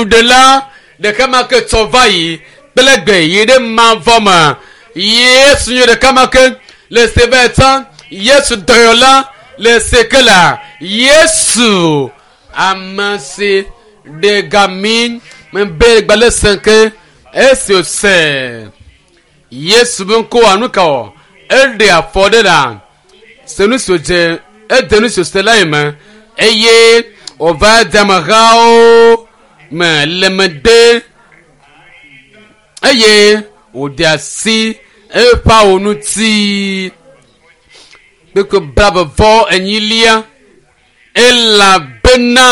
Ɖela ɖeka ma ke tsɔ va yi kple gbe yi ɖe mavɔ me. Yesu nye ɖeka ma ke le se be tsã Yesu dɔyɔla le se ke la Yesu ame si ɖe gami mebe gbalẽ sẽ ke esi wòse Yesu be ŋkɔa nu ka wɔ eɖe afɔ ɖe la se nu si wòdze ede nu si wòse la yi me eye wòva de amehawo me le megbe eye wòde asi eƒe awu ŋuti kpekpe blaeve vɔ enyilia elabena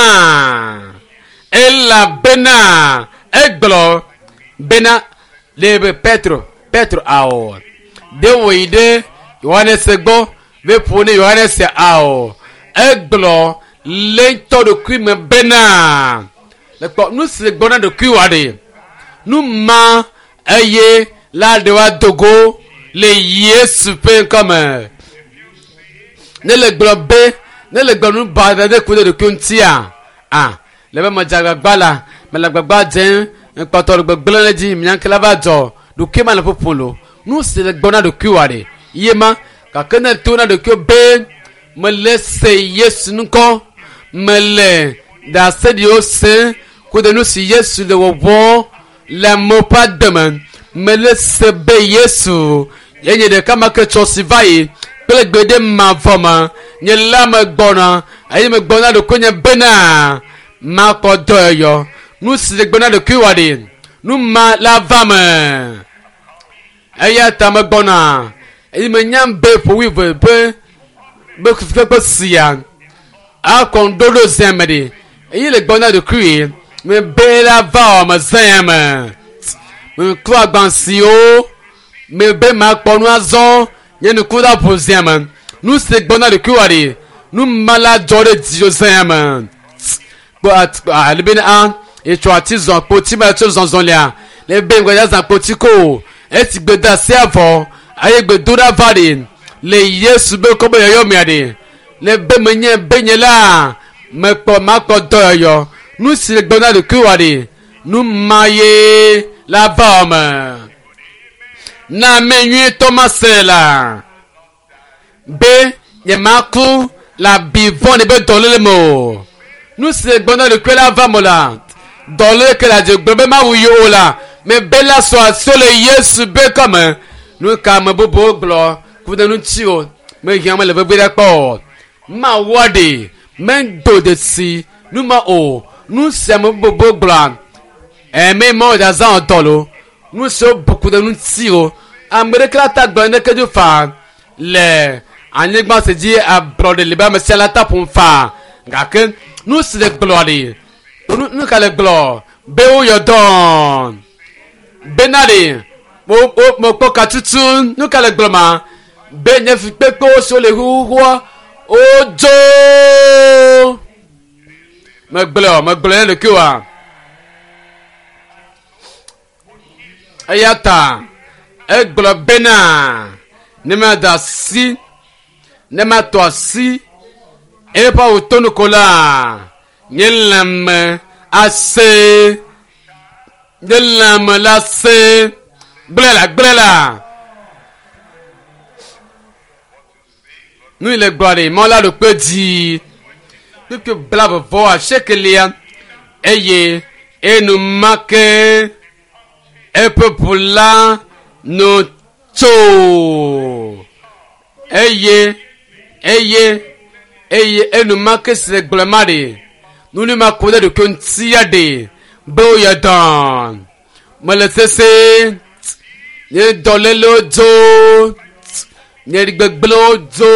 elabena egblɔ bena ɖe be Petro Petro awɔ ɖe wòyi ɖe Yohanes gbɔ be ƒo ne Yohanes awɔ egblɔ le ŋutɔ ɖokui me bena le kpɔ nu si le gbɔ na ɖokuiwòa ɖe nu ma eye la ɖe woado go le Yesu ƒe ŋkɔme ne le gblɔ be ne le gblɔ nu ba ɖe ku ɖe ɖokui ŋutia a le be medze agbagba la mele agbagba dzem ŋkpɔtɔ le gbegblẽ ɖe dzi mianke la va dzɔ ɖokui ma le ƒoƒo lo nu si le gbɔ na ɖokuiwòa ɖe ye ma gake ne to na ɖokuiwò be mele se Yesu ŋkɔ mele ɖase ɖiwo se ku ɖe nu si Yesu le wɔwɔ le amewo ƒe ademe mele se be Yesu enye ɖeka ma ke tsɔ si va yi kple gbe ɖe mavɔ me nye la megbɔna eye megbɔna ɖokuinye bena makpɔ dɔyɔyɔ nu si le gbɔna ɖokuiwòa ɖe nu ma la va me eya ta megbɔna eye menyam be ƒo wuieve be be kpekpe sia akɔ ŋuɖoɖo zia me ɖe eye le gbɔna ɖokui mebe la va wɔ me zã me meklɔ agba siwo mebe makpɔ nu azɔ nye nuku la ʋu zia me nu si gbɔna ɖokuiwòa ɖe nu ma la dzɔ ɖe dziwò zã me kpɔ ale be a etsɔ ati zɔ kpoti ma tso zɔzɔ lia le be ŋgɔ ya zã kpoti ko esi gbedasi avɔ eye gbedoɖa va ɖe le Yesu be ŋkɔ be yɔyɔ mea ɖe le be menye be nye la mekpɔ makpɔ dɔyɔyɔ nu si le gbɔna ɖokuiwòa ɖe nu ma ye la va wɔ me na ame nyuietɔ ma se la be nyemaku le abi vɔ̃ɖi be dɔléle me o nu si le gbɔna ɖokui la va me la dɔléle ke le adze gblɔ be mawu yi o la mebe la sɔ asi le Yesu be kɔme nu ka ame bubuwo gblɔ ku ɖe ŋuti o mehiã mele vevi ɖe kpɔ o mawua ɖe medo dzesi nu ma o nu si ame bubuwo gblɔa ɛmɛ ma wo zazã dɔ lo nu siwo bu ku ɖe ŋuti o ame ɖeke la ta gblɔ neke dzo faa le anyigba si dzi ablɔɖe le be ame sia la ta ƒom faa gake nu si le gblɔ ɖe nu nu ka le gblɔ be woyɔ dɔ bena ɖe wo wo mekpɔ katutu nu ka le gblɔ ma be nye fikpekpewo siwo le xuxuxua wodzo megblɔ megblɔ ne ɖokuiwoa eya ta egblɔ bena ne mada asi ne matɔ asi eƒe awu tonu ko la nye lãme ase nye lãme la se gblẽ la gblẽ la nu yi le gblɔ ɖe mɔ la ɖo kpe dzi kpekpe blaeve vɔ asiekelia eye enumake eƒe ʋu la no tso eye eye eye enumake si le gblɔ ma ɖe nuni ma ko ɖe ɖokui ŋutia ɖe be woyɔ dɔ mele sese nye dɔlélewo dzo nye gbegblẽwo dzo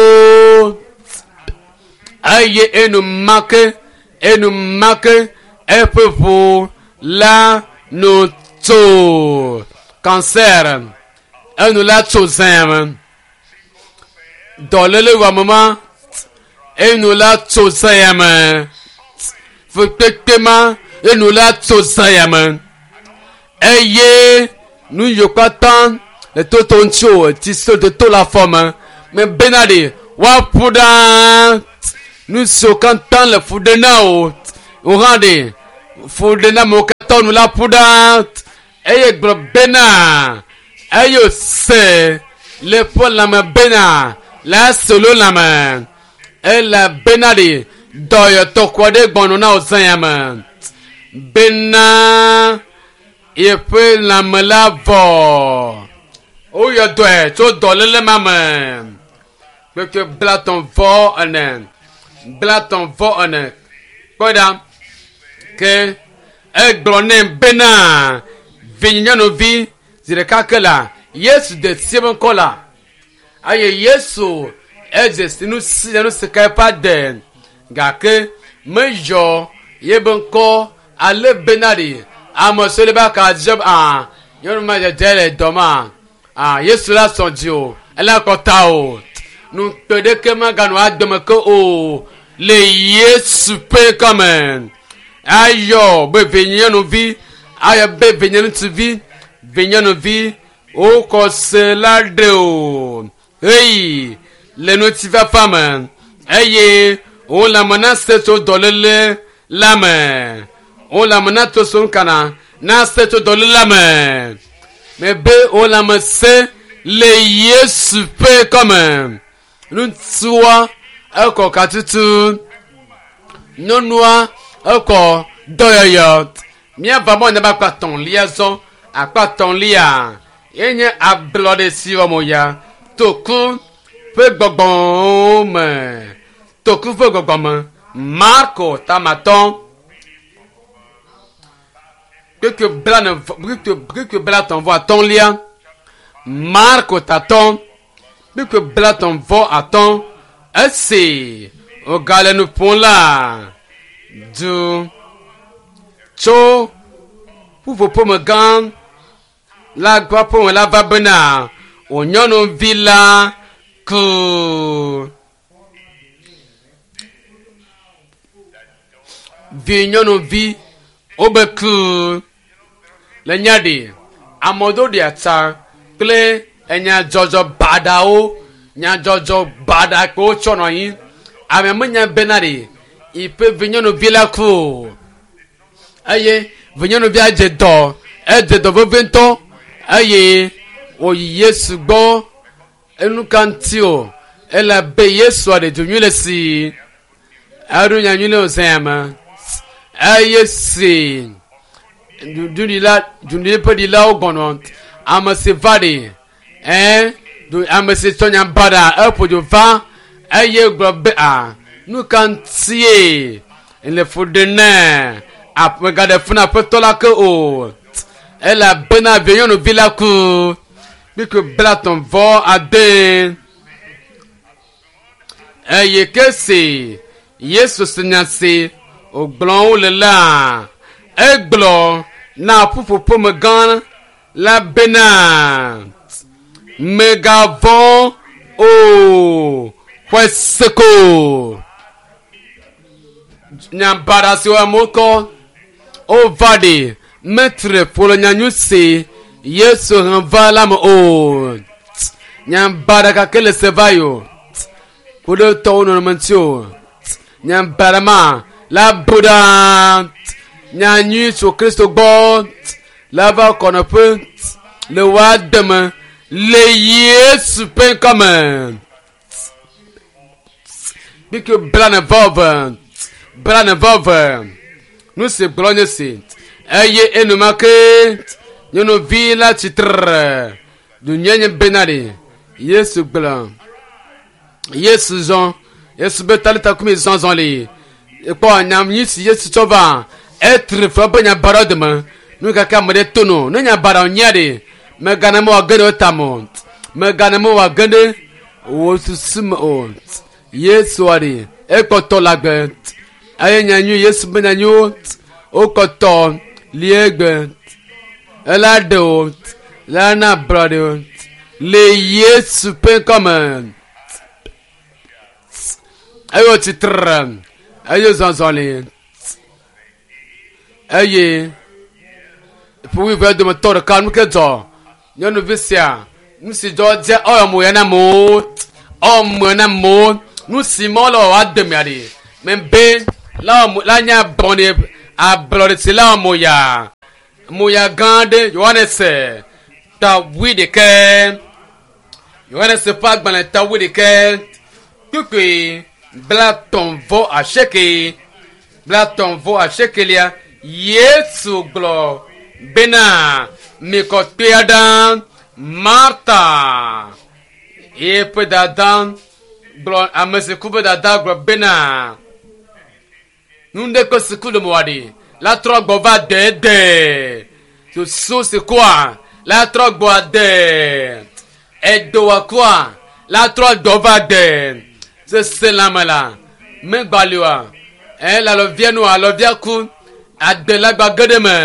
eye enumake enumake eƒe ʋu la no tso cancer enu la tso zã me dɔléle wɔame ma enu la tso zã me fukpekpe ma enu la tso zã me eye nu yiwo katã le toto ŋuti o ti so toto le afɔ me mebena ɖe woaƒu ɖaa nu siwo katã le fu ɖe na o wò hã ɖe fu ɖe na amewo katã. nu la ƒu ɖa eye gblɔ bena eye wòse le eƒe lãme bena la solo lãme elabena ɖe dɔyɔtɔ kɔ ɖe gbɔnɔ na wò zã ya me bena yeƒe lãme la vɔ. Woyɔ dɔe tso dɔléle ma me. Kpekpe 34, 34. Kpɔe ɖa. Ke egblɔ nɛ bena vinyenyɔnuvi zi ɖeka ke la Yesu de si eƒe ŋkɔ la eye Yesu edze si nu si nu si ka eƒe ade gake meyɔ yebe ŋkɔ ale bena ɖi ame siwo le be aka dze a nyɔnu ma dzedze le dɔ ma a Yesu la sɔ dzi o ele kɔta o nukpe ɖeke maganɔ adome ke o le Yesu ƒe ŋkɔme ayɔ be vinyenyɔnuvi ayɔ be vinyeŋutsuvi vinyenyɔnuvi wokɔ se la ɖe o heyi le ŋutifafa me eye wo lãme na se tso dɔléle la me wo lãme na to so ŋkana na se tso dɔléle la me mebe wo lãme se le Yesu ƒe kɔme ŋutsua ekɔ katutu nyɔnua ekɔ dɔyɔyɔ míava mɔ ne be akpa tɔ̃lia zɔ akpa tɔ̃lia yenye ablɔɖe si wɔm ya toku ƒe gbɔgbɔ me toku ƒe gbɔgbɔ me Marko tamatɔ kpekpe blane kpekpe kpekpe blatɔ̃ vɔ atɔ̃lia Marko tatɔ kpekpe blatɔ̃ vɔ atɔ̃ esi wògale nu ƒom la du tso ƒuƒoƒome gã la gbɔ ƒome la va bena wò nyɔnuvi la ku. Vi nyɔnuvi wobe ku le nya ɖi ame ɖewo ɖia tsa kple enyadzɔdzɔ baɖawo nyadzɔdzɔ baɖa kpe wotsɔ nɔ anyi ame menya bena ɖi yiƒe vi nyɔnuvi la ku o eye vinyɔnuvia dze dɔ edze dɔ vevie ŋutɔ eye wòyi Yesu gbɔ enu ka ŋuti o elabe Yesua ɖe du nyui le si eɖo nya nyui le wòzã ya me eye si duɖila duɖi ƒe ɖilawo gbɔnɔ ame si va ɖi ɛɛ ame si tsɔ nya baɖa eƒo dzo va eye gblɔ be a nu ka ŋutie le fu ɖe nɛ megaɖe fu na aƒetɔ la ke o elabena vinyɔnuvi la ku kpikpi 36 eye ke si Yesu se nya si wògblɔ wo le la egblɔ na ƒuƒoƒome gã la bena megavɔ̃ o xɔe se ko nya baɖa siwo amewo kɔ wova ɖi metre ƒo le nyanyui si Yesu he va la me o nya baɖa gake le se va yi o ku ɖe tɔwo nɔnɔme ŋuti o nya baɖa ma la bu ɖa nyanyui tso Kristo gbɔ la va kɔnɔƒe le woa deme le Yesu ƒe ŋkɔme kpikpi 49 49 nu si gblɔ nye si eye enumake nyɔnuvi la tsitre dunye nye bena ɖi Yesu gblɔ Yesu zɔ Yesu be talita kumi zɔzɔ li ekpɔ nyanyui si Yesu tsɔ va etre fɔ be nya baɖawo dome nu kaka ame ɖe to no ne nya baɖawo nyia ɖi megana me wòage ɖe wo tame o megana me wòage ɖe wò susu me o Yesua ɖi ekpɔtɔ le agbe eye nyanyui Yesu be nyanyuiwo wokɔtɔ li egbe ela ɖe wo la na ablɔɖe wo le Yesu ƒe ŋkɔme eye wòtsitre eye zɔzɔ li eye ƒe wuieve dometɔ ɖeka nu ke dzɔ nyɔnuvi sia nu si dzɔ dze ewɔ mo ya na amewo ewɔ mo ya na amewo nu si me wole wɔwɔ ademea ɖi mebe la wɔ mo la nye ablɔɖe ablɔɖe si la wɔ mo ya Moya gã aɖe Yohanes ta 8. Yohanes ƒe agbalẽ ta 8 kpukpui 38 38lia Yesu gblɔ bena mikɔ kpea ɖa Marta eƒe dada gblɔ ame si ku ƒe dada gblɔ bena nu ɖe kpe si ku le moa ɖi la trɔ gbɔ va dede susu si kua la trɔ gbɔ ade edoa kua la trɔ gbɔ va de sese lãme la megbalioa ɛ le alɔvia nu alɔvia ku ade la gba ge ɖe me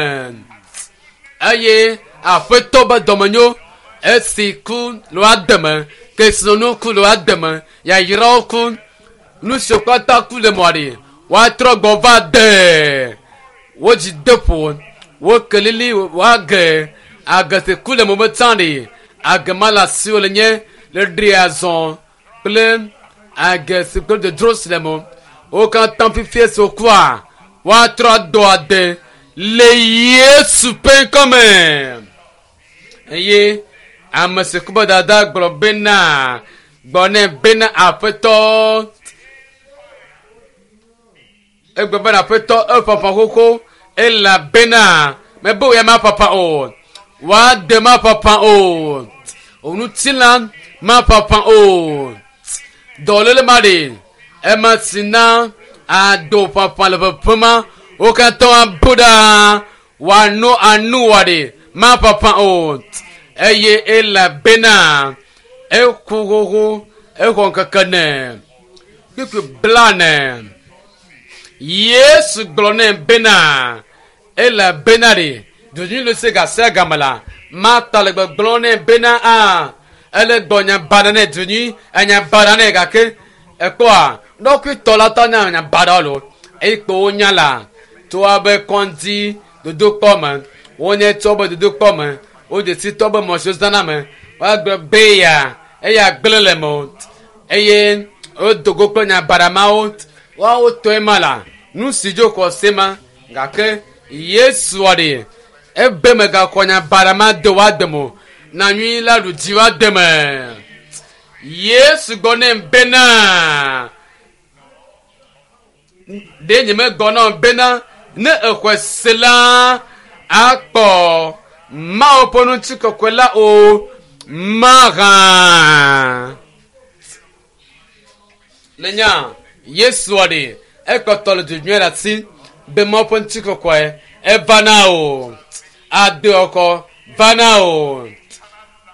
eye aƒetɔ be dɔmenyo esi ku le woade me kesinɔnu ku le woade me yayrawo ku nu siwo katã ku le mɔa ɖi woatrɔ gbɔ va de wodzi de ƒo wo kelili woage age si ku le mo me tsã ɖi age ma le asiwo le nye le ɖi azɔ kple age si kple dodro si le mo wo katã fifie si wokua woatrɔ ado ade le Yesu ƒe ŋkɔme eye ame si ku be dada gblɔ bena gbɔ nɛ bena aƒetɔ egblɔ bena aƒetɔ eƒaƒã xoxo elabena mebe wò ya maƒaƒã o woade maƒaƒã o onutsila maƒaƒã o dɔléle ma ɖe ema si na ado ƒaƒã le ʋeʋẽ ma wo katã abu ɖa wòano anu wɔ ɖe maƒaƒã o eye elabena eku xoxo exɔ ŋkeke ne kpikpi blane Yesu gblɔ nɛ bena elabena ɖe dzodzui le se gasia game la Marta le gbɔgblɔ nɛ bena a ele gbɔ nya baɖa nɛ dzonui enya baɖa nɛ gake ekpɔa ɖɔkuitɔ la tɔ nya nya baɖa lo eye kpo wonya la tso abe kɔndzi dodokpɔ me wonye tso be dodokpɔ me wodze si tɔ be mɔ si wozãna me woagblɔ be ya eya gblẽ le me o eye wodo go kple nya baɖa mawo woawo tɔe ma la nu si dzo xɔ se ma gake Yesua ɖe ebe megakɔ nya baɖa ma de woade me o na nyui la ɖu dzi woade me Yesu gbɔ nɛ bena ɖe nye megbɔ na wò bena ne exɔe se la akpɔ Mawu ƒe ŋutikɔkɔe la o mahã. Le nya Yesua ɖe ekpɔtɔ le dzodzui ɖe asi be Mawu ƒe ŋutikɔkɔe eva na o ade ɔkɔ va na o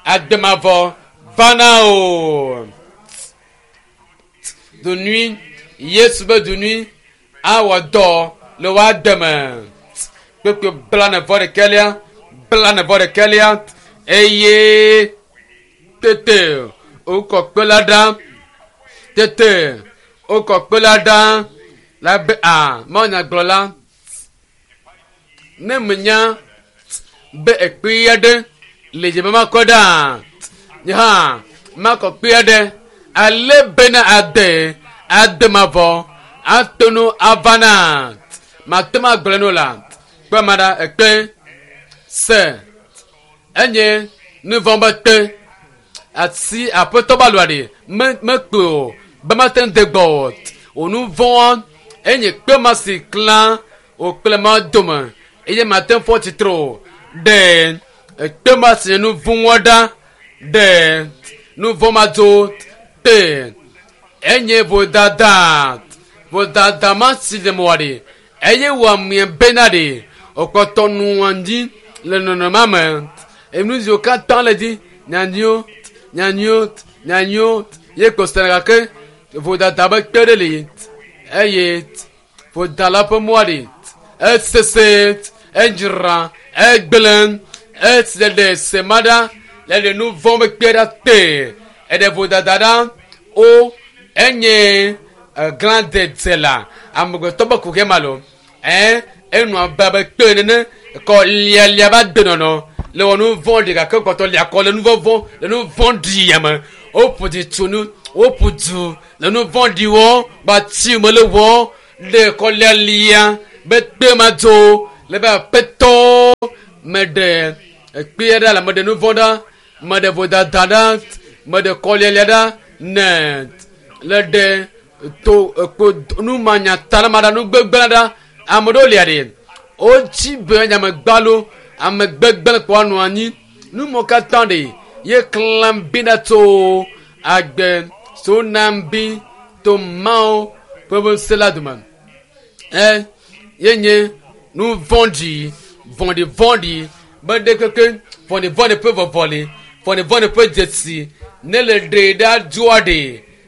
ademavɔ va na o dunui Yesu be dunui awɔ dɔ le woade me kpekpe 41 41 eye tete wokɔ kpe la ɖa tete wokɔ kpe la ɖa la be a mawunyagblɔla ne menya be ekpe aɖe le dzi be makɔ ɖa nye hã makɔ kpe aɖe ale bena ade ade mavɔ ato nu ava na mate ŋu agblɔ nu la kpe ma ɖa ekpe se enye nu vɔ̃ be te asi aƒetɔ ba lɔa ɖe me mekpe o be mate ŋu de gbɔ o wò nu vɔ̃a enye kpe ma si klã wò kple ma dome eye mate ŋu fɔ tsitre o ɖe ekpe ma si nye nu vɔ̃a ɖa ɖe nu vɔ̃ ma dzo te enye vodada vodada ma si le mɔa ɖe eye wò amea bena ɖe wòkpɔtɔ nua dzi le nɔnɔmea me enu siwo katã le dzi nyanyuiwo nyanyuiwo nyanyuiwo ye kpɔ sena gake vodada be kpe ɖe li eye vodala ƒe mɔa ɖi esese edzra egblẽ esi le ɖe se ma ɖa le ɖe nu vɔ̃ be kpe ɖa te eɖe vodada ɖa o enye glãdedze la amegbetɔ be kuxi ma lo ɛ enɔ abe abe kpe nene kɔ lialia va de nɔnɔ le wɔ nu vɔ̃ ɖi gake kpɔtɔ lia kɔ le nu vɔvɔ̃ le nu vɔ̃ ɖi ya me woƒo dzi tso nu woƒo du le nu vɔ̃ ɖi wɔ gbatsi me le wɔ ɖe kɔ lialia be kpe ma dzo le be aƒetɔ Meɖe ekpea ɖa le meɖe nu vɔ̃ ɖa, meɖe vodada ɖa, meɖe kɔlialia ɖa ne le ɖe to ekpo numanyata la maɖa nu gbegblẽ ɖa. Ame ɖewo lia ɖe wotsi be nye ame gbalo, ame gbegblẽ kpɔ anɔ anyi. Numɔ katã ɖe ye klã bi ɖa tso agbe so nam bi to Mawu ƒe ŋusẽ la dome. E ye nye nu vɔ̃ɖi, vɔ̃ɖivɔ̃ɖi be ɖe keke vɔ̃ɖivɔ̃ɖi ƒe vɔvɔli, vɔ̃ɖivɔ̃ɖi ƒe dzesi ne le ɖe ɖa dzoa ɖe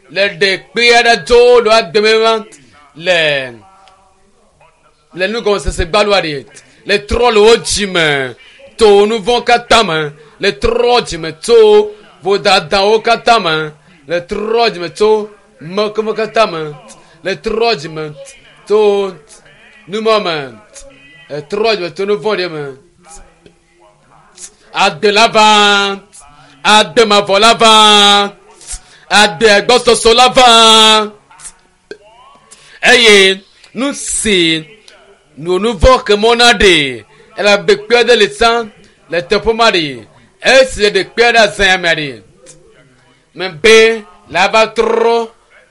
le ɖe kpea ɖa dzo le agbeme ma le le nugɔmesese gbaloa ɖe le trɔ le wo dzime to nu vɔ̃ katã me le trɔ dzime tso vodadawo katã me le trɔ dzime tso mekeme katã me le trɔ dzime tso numɔ me le trɔ dzime tso nu vɔ̃ɖi me. Agbe la va, agbe mavɔ la va, agbe gbɔsɔsɔ la va. Eye nu si nu vɔ̃ ke mɔ na ɖe elabe kpe ɖe le sã le teƒe ma ɖe esi ɖe kpe ɖe azã mea ɖe mebe la va trɔ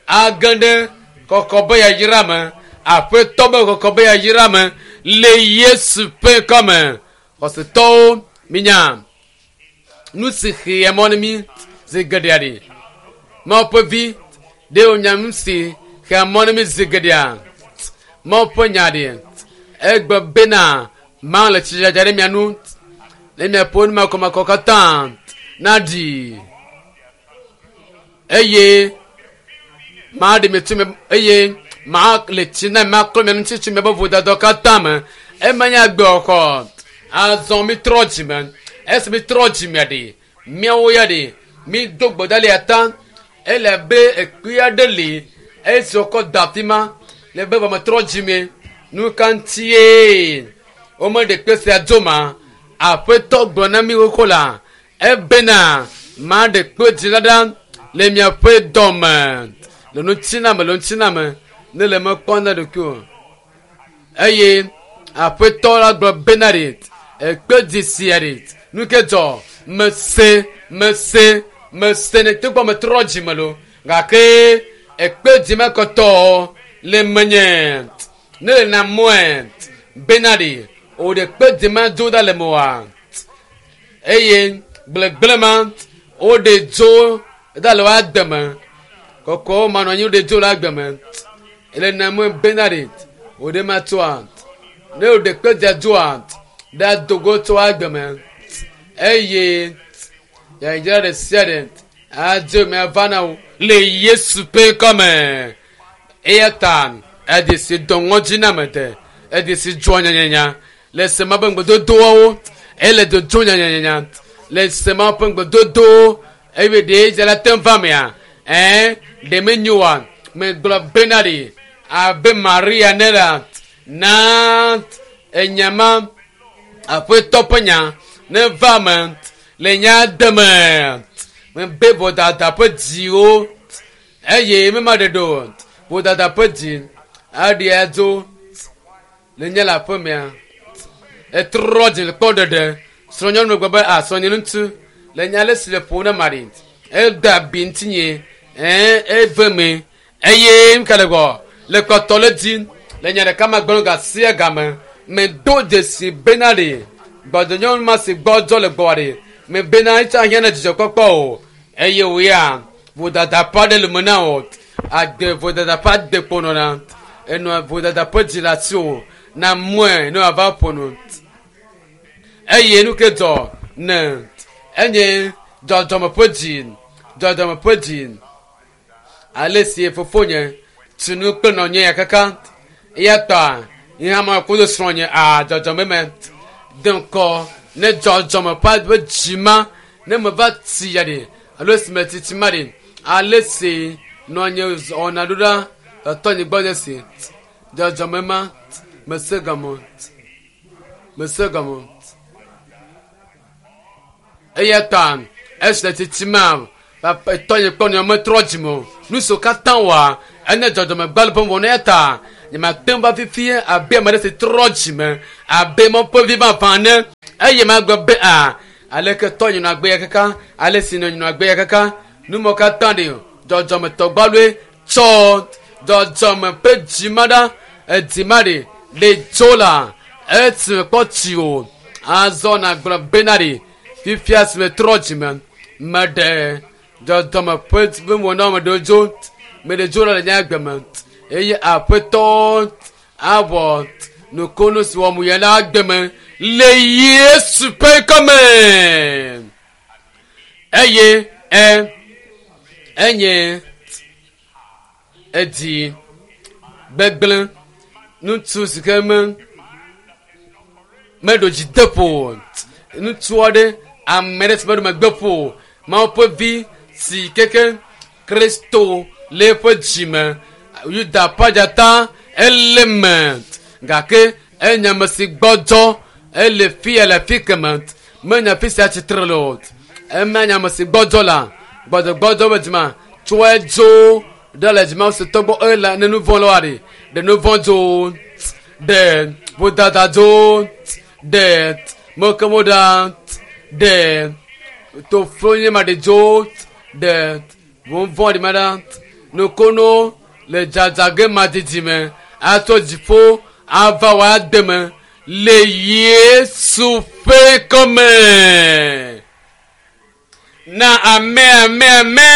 age ɖe kɔkɔ be yayra me aƒetɔ be kɔkɔ be yayra me le Yesu ƒe ŋkɔme. Xɔsetɔwo minya nu si xea mɔ na mí zi geɖea ɖi. Mawu ƒe vi ɖe wònya nu si xea mɔ na mí zi geɖea. Mawu ƒe nya ɖi egbe bena Mawu le tsidzadza ɖe mia nu ne miaƒe numakɔmakɔ katã naɖi eye maɖe mi tso mi eye ma le tsi na maklɔ mia ŋuti tso miaƒe vodada katã me. Ema nye agbexɔxɔ. Azɔ mitrɔ dzime. Esi mitrɔ dzime ɖi, miawo ya ɖi, mido gbe ɖa le ya ta. Ele abe ekpe aɖe li esi wokɔ da afi ma le be metrɔ dzime. Nu ka ŋutie womeɖe kpe sia dzo ma? Aƒetɔ gblɔ na mi xoxo la ebena maɖe kpe dzi la ɖa le miaƒe dɔme le ŋutiname le ŋutiname ne le mekpɔ na ɖokuiwò. Eye aƒetɔ la gblɔ bena ɖe ekpe dzi sia ɖe nu ke dzɔ mese mese mese ne togbɔ metrɔ dzime lo gake ekpe dzi mekɔtɔ le menye ne le na mɔe bena ɖe o ɖe kpe dzi ma dzo ɖa le mɔa eye gblegble ma woɖe dzo ɖa le woa deme kɔkɔwo manɔ anyi woɖe dzo le agbe me ele na mɔe bena ɖe o ɖe ma tsoa ne o ɖe kpe dzia dzoa ɖe dogo tso agbe me eye yayra ɖe sia ɖe adzo me ava na wo le Yesu ƒe ŋkɔme. Eya ta eɖe si dɔ ŋɔdzi na ame de eɖe si dzɔ nyanyanya le sema ƒe ŋgbedodoawo ele dodzo nyanyanya le sema ƒe ŋgbedodowo eye ɖe dze la te va mea ɛɛ ɖe menyo wa megblɔ bena ɖe abe Maria ne la na enyama aƒetɔ ƒe nya ne va me le nya deme mebe vodada ƒe dziwo eye mema ɖe ɖo vodada ƒe dzi aɖi adzo le nye le aƒe mea etrɔ dzi le kpɔ ɖeɖe srɔ̃nyɔnu gblɔ be a srɔ̃nye ŋutsu le nya ale si le ƒo na mari ede abi ŋutinye ɛɛ eve me eye nuka le gbɔ le kpɔtɔ le dzi le nya ɖeka ma gblɔ gasia game medo dzesi bena ɖe gbɔdɔnyɔnu ma si gbɔdzɔ le gbɔa ɖe me bena etsa hiã na dzidzɔkpɔkpɔ o eye wòya vodada ƒe aɖe le me na o agbe vodada ƒe ade kpɔnɔ na enɔ vodada ƒe dzi le asi o na mɔe ne wòava ƒo nu eye nu ke dzɔ ne enye dzɔdzɔme ƒe dzi dzɔdzɔme ƒe dzi ale si fofonye tu nu kple nɔnye ya kaka eya ta nye hã ma kudo srɔ̃nye a dzɔdzɔme me de ŋkɔ ne dzɔdzɔme ƒe dzi ma ne meva tsi ya ɖe alo esi me tsitsi ma ɖe ale si nɔnye wɔna ɖo ɖa tɔtɔ nye gbɔ nye si dzɔdzɔme ma mese gɔme mese gɔme eya ta esi le tsitsi ma tɔnye kpɔ nɔ metrɔ dzime o nu siwo katã wɔa enye dzɔdzɔme gbalẽ ƒe wɔna eya ta nyemate ŋu va fifie abe ame ɖe si trɔ dzime abe Mawu ƒe vi vavã ene. Eye magblɔ be a aleke tɔ nyɔnu agbe ya kaka ale si nɔ nyɔnu agbe ya kaka numɔ katã ɖe dzɔdzɔmetɔgbaloe tsɔ dzɔdzɔme ƒe dzima ɖa edzima ɖe le dzo la esime kpɔ tsi o azɔ nagblɔ bena ɖe fifia si me trɔ dzime meɖe dzɔdzɔme ƒe nuwɔna me ɖewo dzo meɖe dzo le nye agbe me eye aƒetɔ awɔ nukunu si wɔm wòle la agbe me le Yesu ƒe ŋkɔme eye e enye edzi gbegblẽ ŋutsu si ke me meɖo dzi de ƒo o. Ŋutsu aɖe ame ɖe si meɖo megbe ƒo o. Mawu ƒe vi si keke Kristo le eƒe dzime. Yuda ƒe adzata ele me gake enye ame si gbɔdzɔ ele fi ya le afi keme menya afi sia tsitre le o. Ema nye ame si gbɔdzɔ la gbɔdzɔgbɔdzɔ be dzima tsɔe dzo ɖe le dzima si tɔgbɔ ele ne nu vɔ̃ le wa ɖi ɖe nu vɔ̃ dzo ɖe vodada dzo ɖe mekemo ɖa ɖe toflo nye ma ɖe dzo ɖe vɔvɔ̃ ɖi ma ɖa nukono le dzadzage madidi me atso dziƒo ava wò ade me le Yesu ƒe ŋkɔme. Na ame ame ame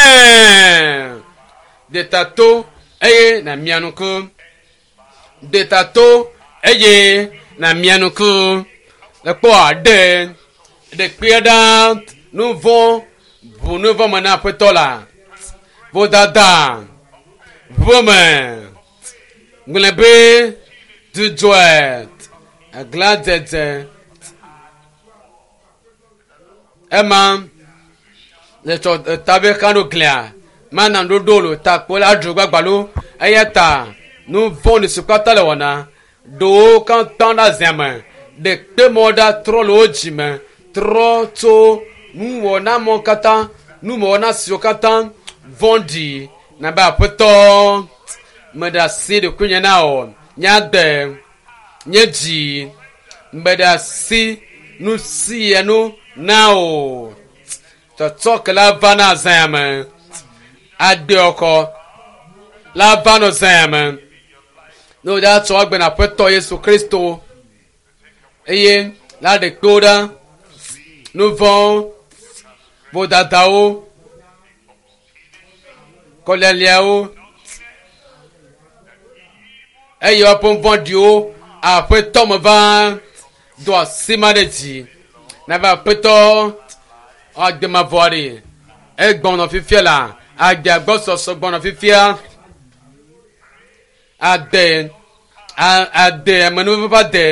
ɖeta to eye na mia nuku ɖeta to eye na mia nuku ekpɔ ɖe ɖekpia ɖa nu vɔ̃ ʋu nu vɔ̃ me na aƒetɔ la vodada ʋu me gblẽ be dzudzɔe aglãdzedze ema le tsɔ tabe kan ɖo glia mana ɖoɖo lo takpo la dzro gbagbalo eya ta nu vɔ̃ si katã le wɔna ɖewo katã ɖe azia me ɖekpe mɔ ɖa trɔ le wo dzime trɔ tso nuwɔna mɔ katã nuwɔna siwo katã vɔ̃ɖi nabe aƒetɔ meɖe asi ɖokuinye na o nye agbe nye dzi meɖe asi nu sia nu na o tsɔtsɔ ke la va na zã me agbeɔkɔ la va nɔ zã me ne wòdza tsɔ agbe na aƒetɔ Yesu Kristo eye la ɖe kpewo ɖa nu vɔ̃wo vodadawo kɔlialiawo eye woaƒe vɔ̃ɖiwo aƒetɔ me va do asi ma ɖe dzi nabe aƒetɔ agbemavɔ ɖe egbɔnɔ fifia la agbea gbɔsɔsɔ gbɔnɔ fifia ade ade amenuve ƒe ade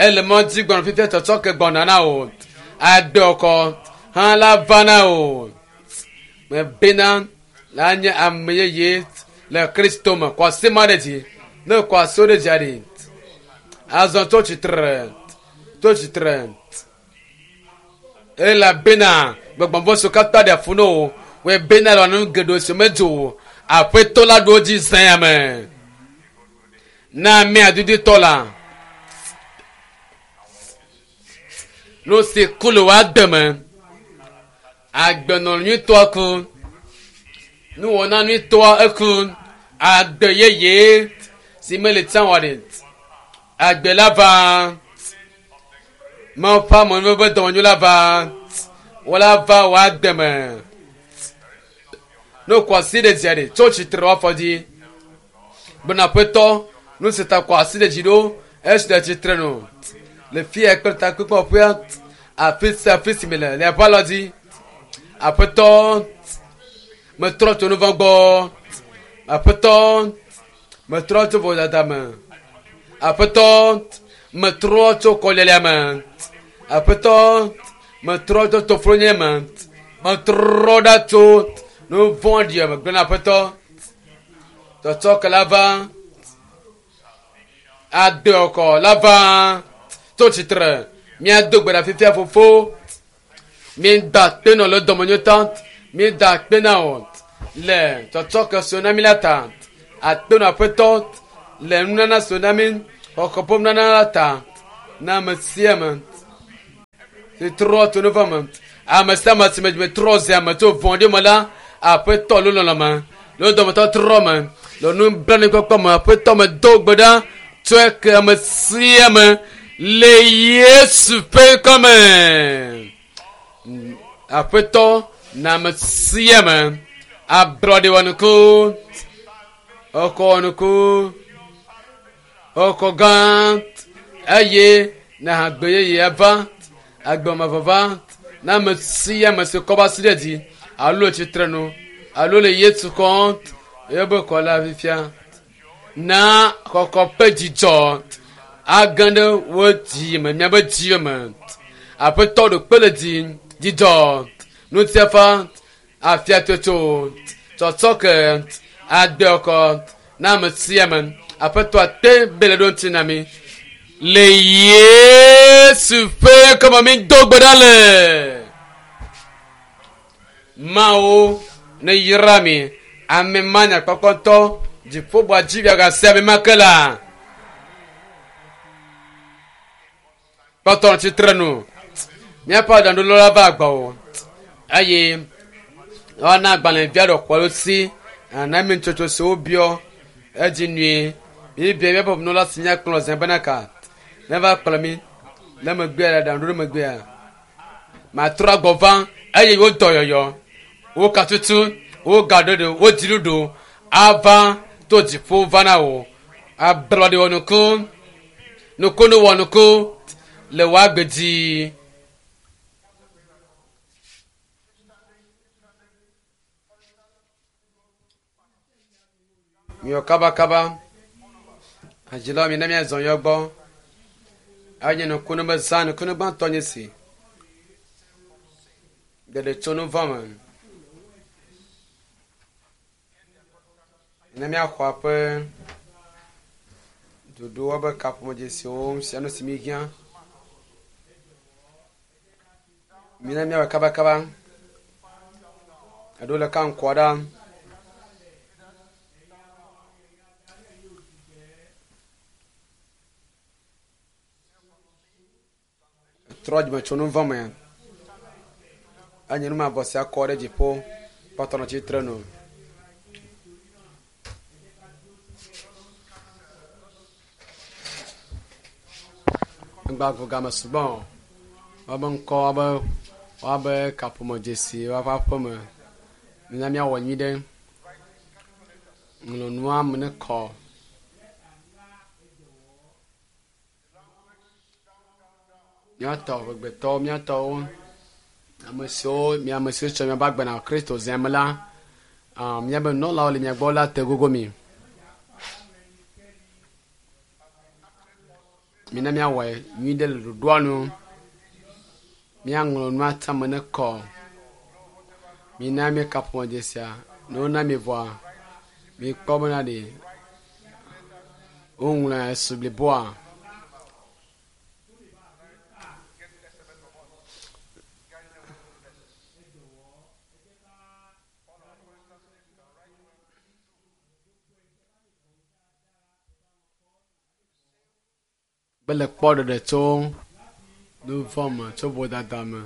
ele mɔ dzi gbɔnɔ fifia tsɔtsɔ ke gbɔna na o ade ɔkɔ hã la va na o mebena la nye ame yeye le Kristo me kɔ asi ma ɖe dzi ne kɔ asi ɖe dzia ɖi azɔ tso tsitre tso tsitre elabena gbɔgbɔvɔ siwo katã ɖe afu na wo wɔe bena le nu geɖewo si medzo o aƒetɔ la ɖo wo dzi zã ya me na ame adudutɔ la nu si ku le wòa deme agbenɔ nyuitɔa ku nuwɔna nyuitɔa eku agbe yeye si mele tsã wɔ ɖe agbe la va Mawu ƒe amenuveve dɔmenyo la va wola va wò agbe me ne wokɔ asi ɖe dzia ɖe tso tsitre wɔ afɔ dzi gbɔna aƒetɔ nu si ta kɔ asi ɖe dzi ɖo esi le tsitre no le fia kple takpekpeƒea afi sia afi si mi le le aƒe alɔ dzi aƒetɔ metrɔ tso nu vɔ̃ gbɔ aƒetɔ metrɔ tso vodada me aƒetɔ metrɔ tso kɔlialia me aƒetɔ metrɔ tso toflonye me metrɔ ɖa tso nu vɔ̃ɖi me gblɔ na aƒetɔ tsɔtsɔ ke la va adeɔkɔ la va tso tsitre míado gbe ɖa fifia fofo míeda akpe nɔ le dɔmenyo ta míeda akpe na wò le tsɔtsɔ ke si wona mí la ta akpe nɔ aƒetɔ le nunana si wona mí xɔxɔ ƒe nunana la ta na ame sia ame. si trɔ tso nu vɔ̃ me. Ame sia ame si me dzime trɔ zi ame tso vɔ̃ɖi me la, Aƒetɔ le lɔlɔ̃ me, le dɔmetɔtrɔ me, le nublanuikpɔkpɔ me, Aƒetɔ me do gbe ɖa tsɔe ke ame sia ame le Yesu ƒe ŋkɔ me. Aƒetɔ na ame sia ame ablɔɖe wɔnuku, exɔ wɔnuku, exɔ gã eye na agbe yeye ava, agbe mavɔ va na ame sia ame si kɔ va asi ɖe dzi alo le tsitre nu alo le Yesu xɔm ebe xɔ la fifia. Na xɔxɔ ƒe dzidzɔ age ɖe wo dzi me, miaƒe dzi me. Aƒetɔ ɖo kpe le dzi, dzidzɔ, ŋutifafa, afiatsotso, tsɔtsɔke, agbe xɔxɔ na ame sia ame. Aƒetɔ ate be le ɖo ŋuti na mi. Le Yesu ƒe ŋkɔme mi do gbe ɖa le. Mawu ne yra mi. Ame ma nyakpɔkpɔtɔ dziƒoʋua dzi miagase ame ma ke la. Kpɔtɔ nɔ tsitre nu. Míaƒe aɖaŋuɖola la va gbɔwò eye woana agbalẽvia ɖe xɔ si ana mi nutsotso si wobiɔ edzi nyuie. Míebia míaƒe ʋunɔla si míakplɔ zã bena ka neva kplɔ mí le megbea le aɖaŋuɖoɖo megbea. Matrɔ agbɔ va eye wo dɔyɔyɔ, wo katutu, wo gaɖoɖo, wo dziɖuɖu ava to dziƒo va na wò. Ablɔɖe wɔnuku, nukunu wɔnuku le wò agbe dzi. Miwɔ kabakaba. Hadzilawo mina míazɔ yɔ gbɔ. Enye nukunu be zã nukunu gbãtɔ nye si. Ɖeɖe tso nu vɔ̃ me. Ne míaxɔ aƒe ɖoɖowo be kaƒomedzesiwo sia nu si mi hiã. Mina míawɔ kabakaba. Eɖewo le ka ŋkua ɖa. Trɔ dzime tso nu vɔ̃ me. Enye numavɔ sia kɔ ɖe dziƒo kpɔtɔ nɔ tsitre nu. Ŋgba vo game sugbɔ o. Woabe ŋkɔ, woabe woabe kaƒomedzesi, woaƒe aƒeme. Mina míawɔ nyui ɖe. Ŋlɔ nua me ne kɔ. Míatɔ ʋegbetɔwo, míatɔwo, ame siwo mi ame siwo tsɔ miaƒe agbe na Kristo zia me la, míabe nunɔlawo le mia gbɔ la te gogo mi. Mina míawɔe nyui ɖe le ɖoɖoa nu. Míaŋlɔ nua tame ne kɔ. Mina míeka ƒomedzesia. Ne wona mi vɔa, mikpɔ bena ɖe woŋlɔe esu bliboa. Mele kpɔ ɖeɖe tso nu vɔ̃ me, tso vodada me,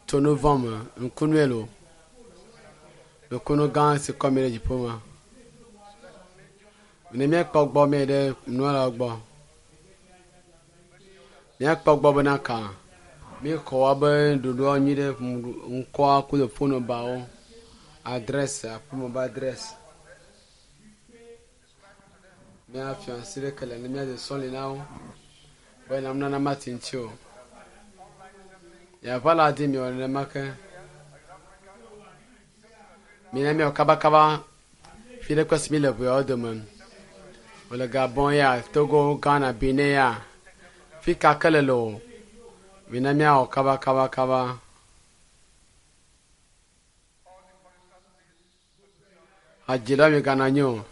tso nu vɔ̃ me. Ŋkunue lo. Nukunu gã si kɔ mi ɖe dziƒo me. Ne míekpɔ gbɔ mi ɖe nunɔlawo gbɔ. Míakpɔ gbɔ bena ka míexɔ woabe ɖoɖoa nyui ɖe ŋkɔa ku le fon nɔmbawo, adrɛsi, aƒeme be adrɛsi. Míafia asi ɖeke le ne míade sɔli na wo be nunana mati ŋuti o. Yeava la di miwɔ nenema ke. Mina míawɔ kabakaba fi ɖe kpe si mi le ʋeawo dome. Wòle Gabon ya, Togo, Ghana, Benin ya. Fi ka ke le o. Mina míawɔ kabakabakaba. Hadzilawo migana anyi o.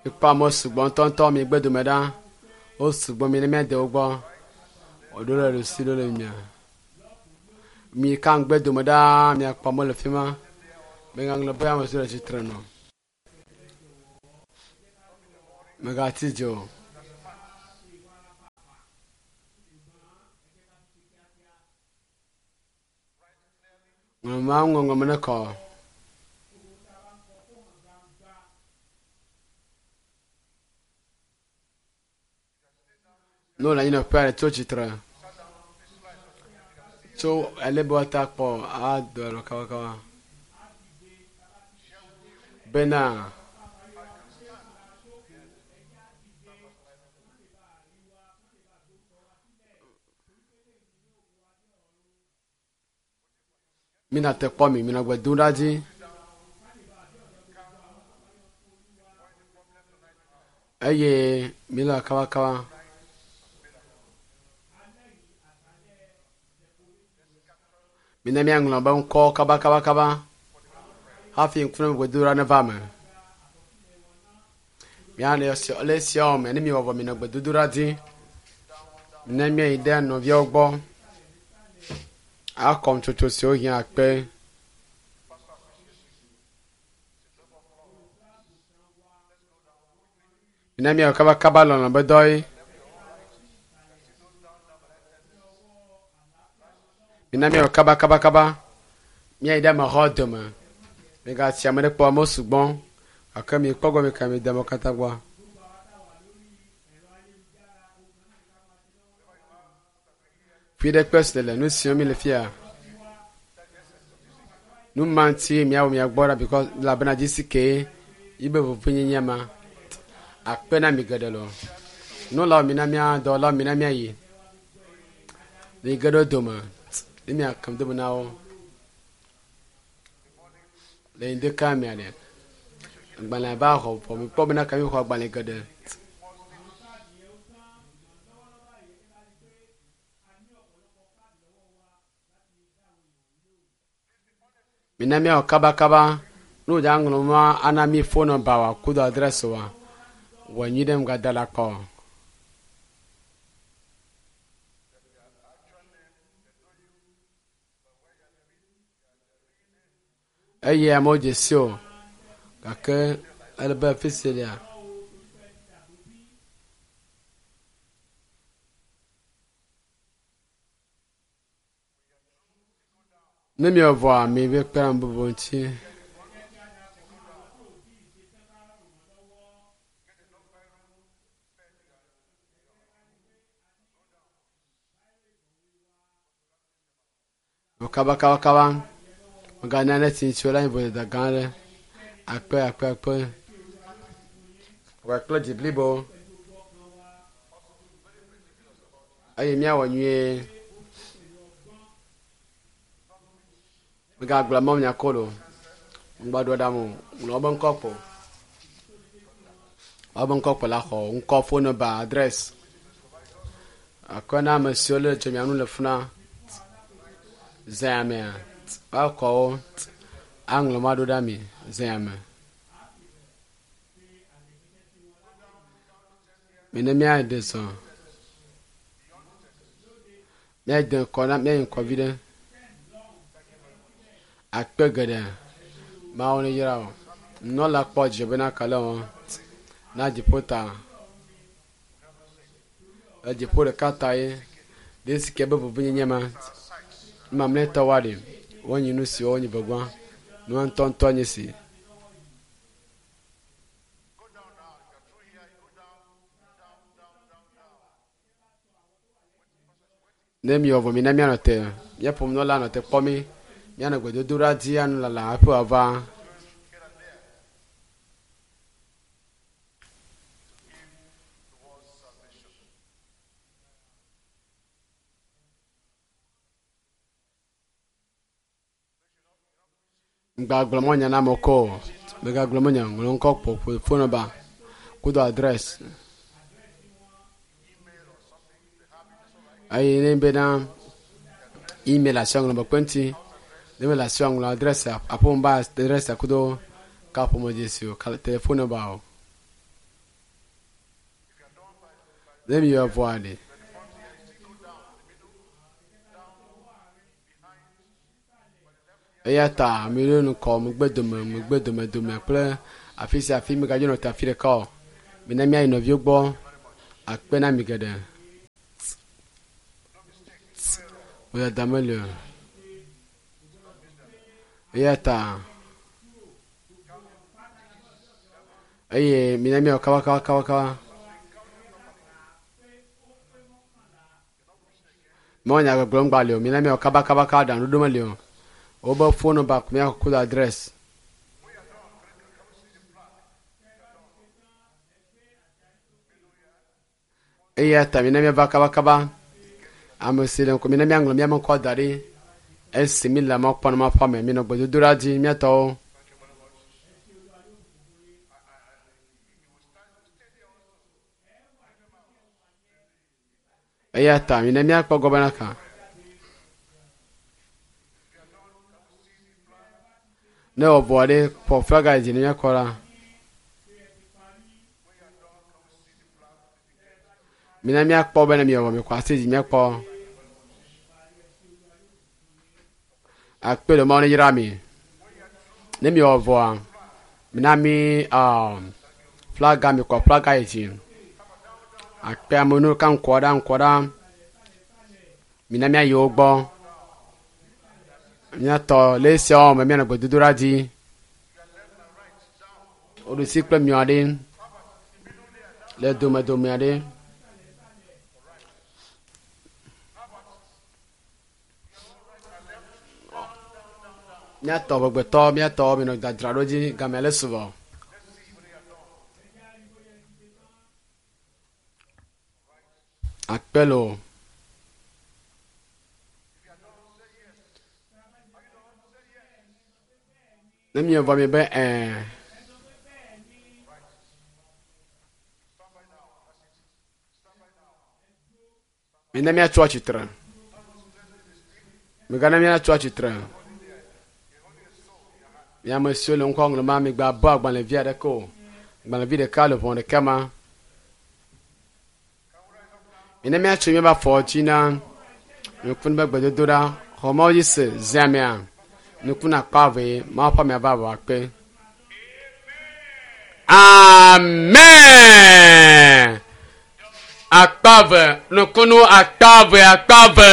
Mikpɔ amewo sugbɔ ŋutɔŋutɔ migbe dome ɖa. Wo sugbɔ mi ne míade wo gbɔ. Woɖo ɖe ɖusi ɖo le mia. Mi ka ŋgbe dome ɖaa miakpɔ amewo le fi ma. Mègaŋlɔ be ame siwo le tsitre nɔ. Mègati dzi o. Ŋlɔma ŋɔŋlɔme ne kɔ. Ne wole anyinɔƒe aɖe tso tsitre tso ale be woate akpɔ ado alɔ kabakaba bena mina te kpɔ mi mina gbe dom ɖa dzi. Eye mi le kabakaba. Mina míaŋlɔ be ŋkɔ kabakabakaba hafi ŋkume gbedodoɖa neva me. Míale le esiawo me ne miwɔ vɔ minɔ gbedodoɖa dzi. Ne míayi ɖe nɔviawo gbɔ akɔ nutsotso siwo hiã akpe. Mina míawɔ kabakaba lɔlɔ be dɔ ye. Mina míawɔ kabakabakaba. Míayi ɖe amexɔ dome. Migatsi ame ɖe kpɔ amewo sugbɔ gake mikpɔ gbɔ mika mi de amewo katã gbɔ. Fi ɖe kpe si le nu siwo mi le fia. Nu ma ŋuti miawɔ mia gbɔ ɖa because elabena dzisi kee yibe vevienyenye ma akpe na mi geɖe loo. Nunɔlawo mina mía dɔwɔlawo mina míayi. Mi ge ɖe wo dome ne miakam dome na wo. Le ŋdeka mea ɖe agbalẽ va xɔ vɔ mikpɔ bena ka mi xɔ agbalẽ geɖe. Mina míawɔ kabakaba ne wòdza ŋlɔ nua ana mí phone number wa kudo address wa wɔ nyui ɖe ŋgada la kpɔ. Eye amewo dze si o gake ele be fi si lia. Ne miewɔ vɔa, mive kpe ɖe ame bubu ŋuti. Vɔ kabakabakaba, mègana ne tsi ŋuti o la nye vodada gã aɖe. Akpe, akpe, akpe. Wɔ kple dzi blibo eye míawɔ nyuie. Mègagblɔ mawunya ko o. Ŋgba ɖo ɖam o. Ŋlɔ wobe ŋkɔ kpo. Wobe ŋkɔ kpo la xɔ ŋkɔ, phone number, address. Akɔ na ame siwo le tso mia nu le funa zea mea, woakɔ wo aŋlɔ ma ɖo ɖa mi zea me. Mine míaɖe zɔ. Míade ŋkɔ na míayi ŋkɔ vi ɖe. Akpe geɖe. Mawu ne yra wò. Nunɔla kpɔ dzidzɔ bena kale wɔ na dziƒo ta. Le dziƒo ɖeka ta ye. Ɖe si ke be vevienyenye ma. Mamlɛtɔ wa ɖi. Wonyi nu siwo wonyi vegbã. Nua ŋutɔŋutɔ nye si. Ne miwɔ vɔ mina míanɔ te. Míaƒo nunɔla nɔ te kpɔ mí. Míanɔ gbedodoɖa dzi anɔ lala hafi wòava. Ŋgagblɔ mɔ nya na amewo ko o. Mègagblɔ mɔ nya ŋlɔ ŋkɔ kpo ƒo phone number kudo address. Eye ne bena email asi ŋlɔ be kpenti ne mele asi ŋlɔ address aƒeme ba address kudo kaƒomedzesi o telephone number o. Ne miwɔ vɔa ɖe. Eya ta miɖo ŋkɔ megbe dome megbe dome dome kple afi sia afi migadzo nɔ te afi ɖeka o. Mina míayi nɔviwo gbɔ akpe na mi geɖe. Vodada meli o. Eya ta eye mina miawɔ kabakabakabakaba. Mewɔ nya gbɔgblɔm gba li o. Mina miawɔ kabakabaka aɖaŋuɖoɖo meli o. Wobe phone number ko miaxɔ kudo address. Eya ta mina miava kabakaba. Ame si le ŋku mina miaŋlɔ miaƒe ŋkɔ da ɖi. Esi mi le mɔ kpɔm na ƒe ame minɔ gbedodoɖa dzi miatɔwo. Eya ta mina míakpɔ gbɔ bena ka. Ne wɔ vɔ ɖe kpɔ flaga yi dzi ne míakɔ la. Mina míakpɔ bena miewɔ mikɔ asi dzi míakpɔ. Akpe le Mawu ne yra mi. Ne miewɔ vɔa, mina mi flaga mikɔ flaga yi dzi. Akpe ame nu ka ŋkɔ ɖa ŋkɔ ɖa. Mina míayi wo gbɔ. Míatɔ le esiawo me míanɔ gbedodoɖa dzi. Woɖusi kple miɔ ɖe le domedomea ɖe. Míatɔ ʋegbetɔ míatɔ minɔ dzadzra ɖo dzi gamea le su vɔ. Akpe loo. Ne mievɔ mi be ɛɛ. Mina míatso atsitre. Migana míatso atsitre. Mi ame siwo le ŋkɔ ŋlɔm ma, migbabɔ agbalẽvi aɖeke o. Agbalẽvi ɖeka le ʋɔ ɖeka ma. Mina míatso míaƒe afɔ dzi na nukunu be gbedodoɖa. Xɔ Mawu dzi se ziamea. Nukunu akpa eve Mawu ƒe amea va vɔ akpe. Amen. Akpa eve nukunu akpa eve akpa eve.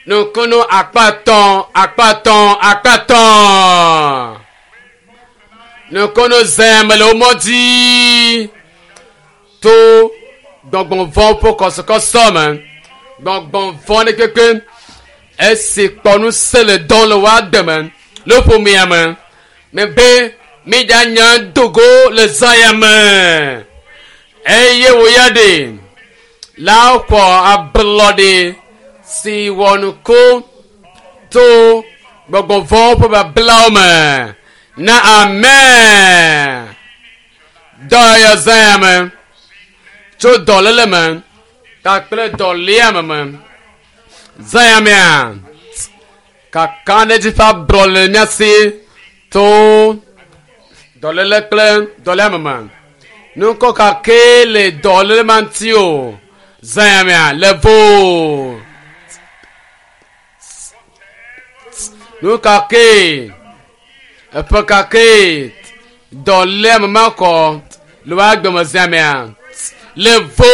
Nukunu akpa etɔ̃ akpa etɔ̃ akpa etɔ̃. Nukunu zẽ me le wo mɔ dzi to gbɔgbɔvɔ̃ ƒe kɔsɔkɔsɔ me. Gbɔgbɔvɔ̃ ɖe kpekpe esi kpɔ ŋusẽ le dɔm le woa deme le ƒomea me. Mebe míɖanya do go le zã ya me eye wò ya ɖe la xɔ ablɔɖe si wɔ nuku to gbɔgbɔvɔ̃wo ƒe bablawo me na amen. Dɔyɔyɔ zã ya me tso dɔléle me kpakple dɔléame me. Zã ya mea kakaɖedzi ƒe ablɔ le mía si to dɔléle kple dɔléame me. Nukɔ ka kee le dɔléle ma ŋuti o. Zã ya mea le vo. Nu ka kee eƒe ka kee dɔléame ma kɔ le woa gbeme zã mea le vo.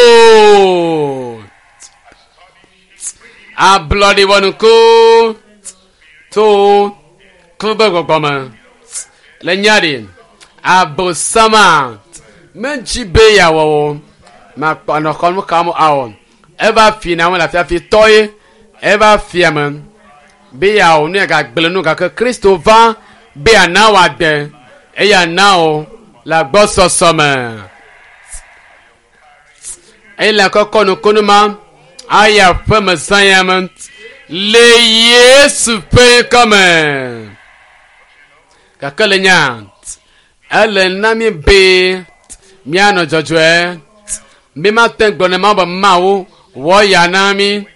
Ablɔɖi wɔnuku to klube gbɔgbɔ me le nya ɖi abosama medzi be yeawɔ o makpɔ nɔ xɔ nu kam awɔ eva fi na me le afiafi tɔ ye eva fia me be yeawɔ nu ya gagblẽ nu gake Kristo va be yeana wòade eye ana wò le agbɔsɔsɔ me eye le kɔkɔ nukunu ma aya ƒe me zã ya me le Yesu ƒe ŋkɔ me. Gake le nya ele na mi be míanɔ dzɔdzɔe. Mi mate ŋu gblɔ ne Mawu be Mawu wɔ ya na mi.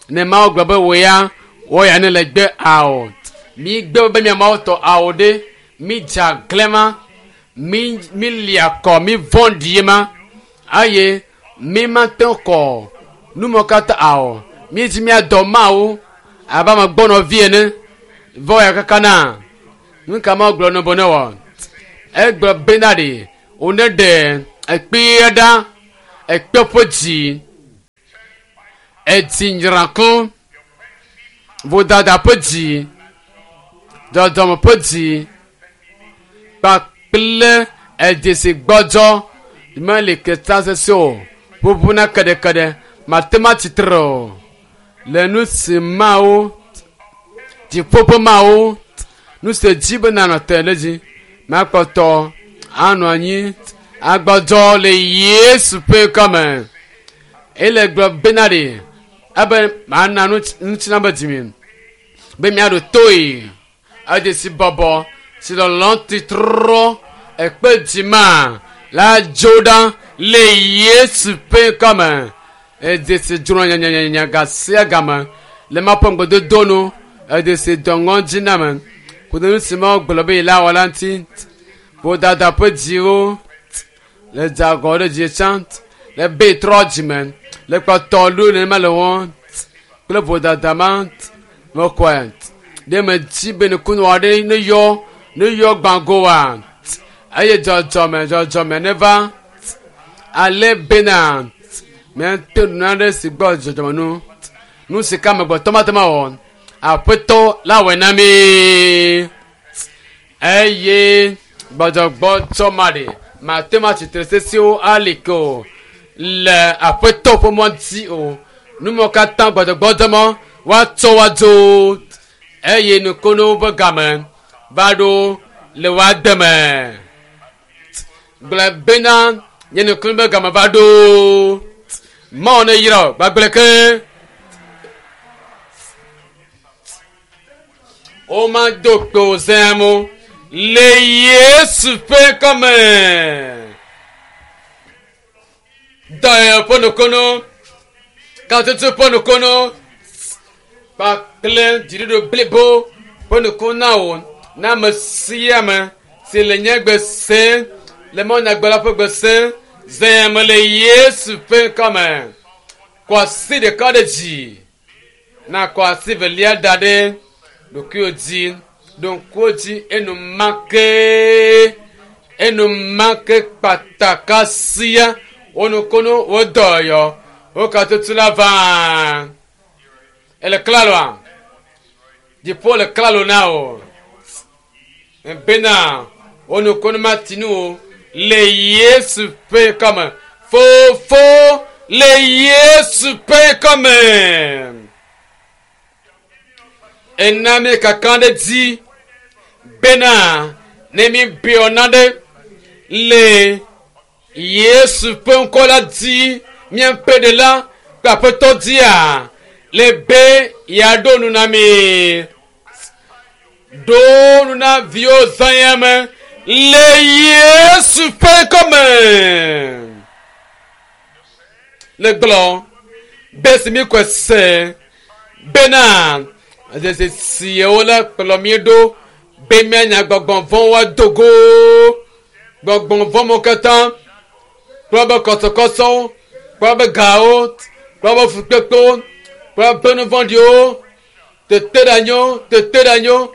Ne Mawu gblɔ be wò ya wɔ ya ne le gbe ao. Mi gbe be mia Mawu tɔ ao ɖe. Mi dze aglã ma. Mi mi lia kɔ mi vɔ̃ɖi ma. Eye mi mate ŋu kɔ numɔ katã ao. Mi dzi miadɔ Mawu abe ame gbɔnɔvi ene. Vɔ ya kaka na. Nu ka Mawu gblɔ ne be ne wɔ? Egblɔ bena ɖe wòne ɖe ekpea ɖa ekpe ƒe dzi. Edzi nyrãku vodada ƒe dzi. Dzɔdzɔme ƒe dzi kpakple edzesi gbɔdzɔ meli keta sese o. Ʋuʋuna keɖekeɖe mate ŋu atsitre o. Le nu si mawo dziƒo ƒe mawo nu si dzi be nanɔ te ɖe dzi makpɔtɔ anɔ anyi agbɔdzɔ le Yesu ƒe ŋkɔme. Ele gblɔ bena ɖe ebe mana ŋutilã be dzime be miaɖo toe. Edzesi bɔbɔ si lɔlɔ titrɔ ekpe dzima la dzo ɖa le Yesu ƒe ŋkɔme. Edzesi dzro nyanyanya ga sia game le ma ƒe ŋgbedodo nu. Edzesi dɔŋɔ dzi na me. Kudo nu si Mawu gblɔ be yela wɔ la ŋuti. Vodada ƒe dziwo le dze agɔ ɖe dzi tsã le be trɔ dzime le kpɔtɔ ɖo nenema le wɔm kple vodada ma mekɔe ɖe me dzi be nukunu aɖe ne yɔ ne yɔ gbãgoa eye dzɔdzɔme dzɔdzɔme neva ale bena míate nu aɖe si gbɔ dzɔdzɔme nu nu si ke amegbetɔ mate ŋu awɔ aƒetɔ la wɔe na mí eye gbɔdzɔgbɔdzɔ ma ɖe mate ŋu atsitre sesiwo ali ke o le aƒetɔ ƒe mɔ dzi o numɔ katã gbɔdzɔgbɔdzɔ mɔ woatsɔ woadzo eye nukonuwo ƒe game va ɖo le woa deme gblɔ bena nye nukunu ƒe game va ɖo Mawu ne yra wò gbagble ke womado kpe o zãmu le Yesu ƒe ŋkɔme. Dɔyɔyɔ ƒe nukunu, katutu ƒe nukunu kpakple dziɖuɖu blibo ƒe nukunu na wò na ame sia ame si le nye gbe sem le mawunyagblɔla ƒe gbe sem zãme le Yesu ƒe ŋkɔme. Kɔ asi ɖeka ɖe dzi na kɔ asi velia da ɖe ɖokuiwò dzi ɖo ŋkuwo dzi enumake enumake kpataka sia wo nukunu wo dɔyɔ wo katutu la va ele klaloa dziƒo le klalo na o bena wo nukunu mati nu o le Yesu ƒe ŋkɔme fofo le Yesu ƒe ŋkɔme ena mi kaka ɖe dzi bena ne mi biɔ naɖe le Yesu ƒe ŋkɔ la dzi míaƒe ɖela kple aƒetɔ dzia le be yeaɖo nu na mi ɖo nu na viwo zã ya me le Yesu ƒe ŋkɔme le gblɔ be si mi kɔe se bena dzesi siawo la kplɔ mi ɖo be mianya gbɔgbɔ vɔ̃wo ado go gbɔgbɔ vɔ̃wo katã kple be kɔsɔkɔsɔwo kple be gawo kple be fukpekpewo kple be nu vɔ̃ɖiwo teteɖeanyiwo teteɖeanyiwo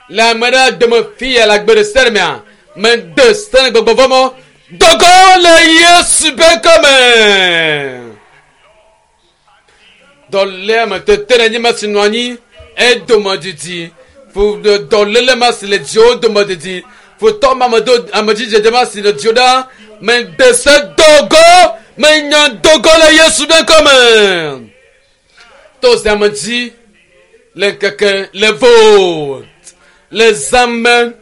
le ame ɖe dome fi ya le agbe ɖe sia ɖe mea mede se na gbɔgbɔ vɔ̃ mɔ dogo le Yesu ƒe ŋkɔme dɔléame teteɖeanyi ma si nɔ anyi edome didi dɔléle ma si le dziwo dome didi futɔ ma ame do amedzidzedze ma si le dziwo ɖa mede se dogo menya dogo le Yesu ƒe ŋkɔme to zãme dzi le ŋkeke le vo le zãme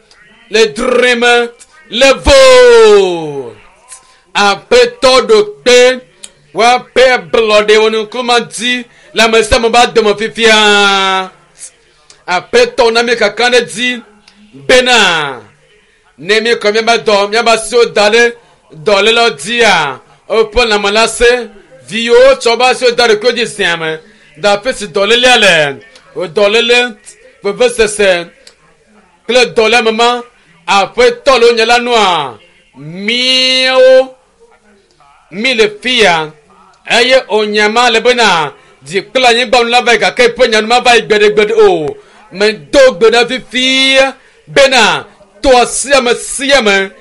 le drime le vo aƒetɔ ɖo kpe woaƒe ablɔɖe wɔ nukuma dzi le ame sia ame ba dome fifia aƒetɔ na mi kaka ɖe dzi bena ne mi kɔ miaba dɔ miaba asiwo da ɖe dɔlélewo dzia woƒe lãme la se viwo tsɔ woƒe asiwo da ɖokuiwo dzi zia me da afi si dɔlélea le dɔléle vevesese kple dɔléame ma aƒetɔ le wonye la nua míawo mi le fia eye wònya ma le bena dzi kple anyigba nu la va yi gake eƒe nya nu mava yi gbeɖegbeɖe o medo gbe ɖa fifia bena to asi ame sia ame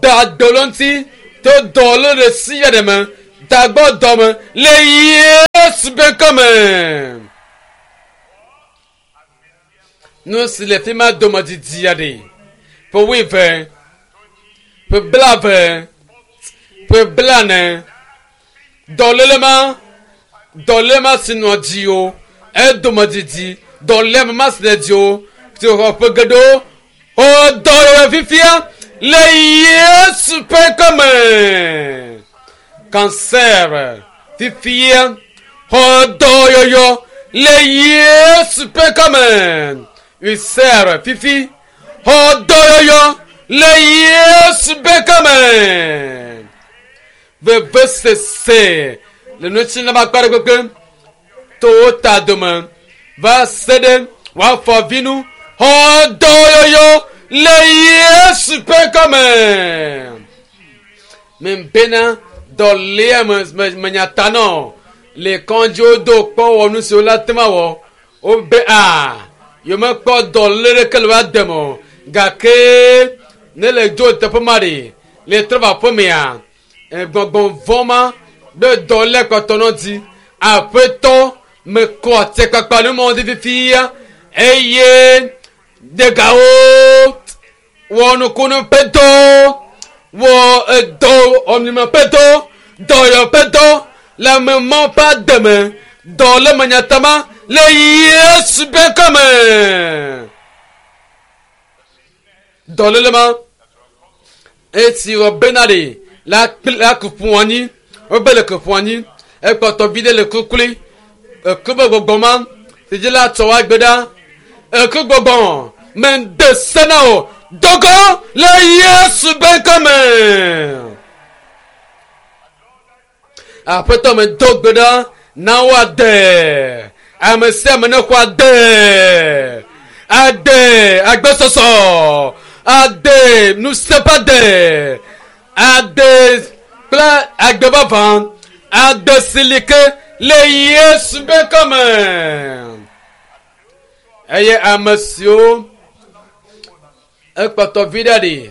da dɔ le ŋuti to dɔ le ɖe sia ɖe me da gbɔ dɔ me le Yesu ƒe ŋkɔme. Nu si le fi ma dome didi aɖe. Ƒe wuieve, ƒe blaeve, ƒe blane. Dɔléle ma, dɔléle ma si nɔ dziwò, edome didi. Dɔléame ma si le dziwò, si xɔ ƒe geɖewo, xɔ dɔyɔyɔ fifia le Yesu ƒe ŋkɔme. Cancer fifia xɔ dɔyɔyɔ le Yesu ƒe ŋkɔme. Ulcer fifi xɔ dɔyɔyɔ le Yesu ƒe ŋkɔme. Vevesese le ŋutilã akpa ɖe kpekpe to wo ta dome va se ɖe woafɔ vi nu xɔ dɔyɔyɔ le Yesu ƒe ŋkɔme. Membena dɔléa me me menya ta nɔ le kɔdziwo do kpɔ wɔ nu siwo la te ma wɔ wobe a yomekpɔ dɔlé ɖeke le woa deme o gake ne le dzo teƒe ma ɖe le trɔ va aƒemea gbɔgbɔ vɔ ma be dɔlé kpɔtɔ nɔ dzi aƒetɔ mekɔ atikpakpa nu mɔ dzi fifia eye degawo wɔ nukunu ƒe dɔ wɔ edɔ ɔmlima ƒe dɔ dɔyɔ ƒe dɔ le ame mɔ ƒe ademe dɔ le menyatama le Yesu ƒe ŋkɔme. Dɔléle ma esi wɔ bena ɖe la kpli la ku ƒu anyi wobe le ku ƒu anyi ekpɔtɔ vi ɖe le kukuli eku be gbɔgbɔ ma si dzi la tsɔ wa gbe ɖa eku gbɔgbɔ mende se na o dogo le Yesu ƒe ŋkɔme. Aƒetɔ me do gbe ɖa na woade ame sia ame ne xɔ ade ade agbesɔsɔ ade nuseƒe ade ade kple agbe vavã ade silike le Yesu ƒe ŋkɔme. Eye ame siwo ekpɔtɔ vi ɖe ɖi